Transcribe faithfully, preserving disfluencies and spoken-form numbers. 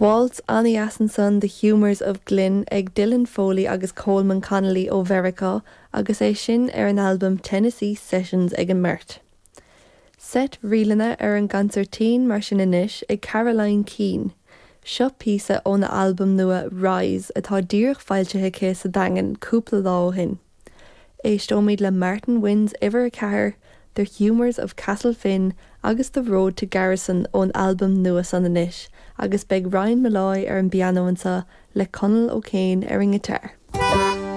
Waltz an-deas ansan The Humours of Glynn ag Dylan Foley agus Coleman Connolly ó Mheiriceá agus é sin ar an albam Tennessee Sessions ag an mbeirt. Seit ríleanna ar an gconsairtín mar sin anois ag Caroline Keane. Seo píosa óna albam nua Rise atá díreach foilsithe aici sa Daingean cúpla lá ó shin. Éisteoimid le Martin Wins uimhir a ceathair, The Humours of Castlefin agus The Road to Garrison ón albam nua san anois, agus beidh Ryan Molloy ar an bpianó anseo le Conall O'Kane ar an ngiotár.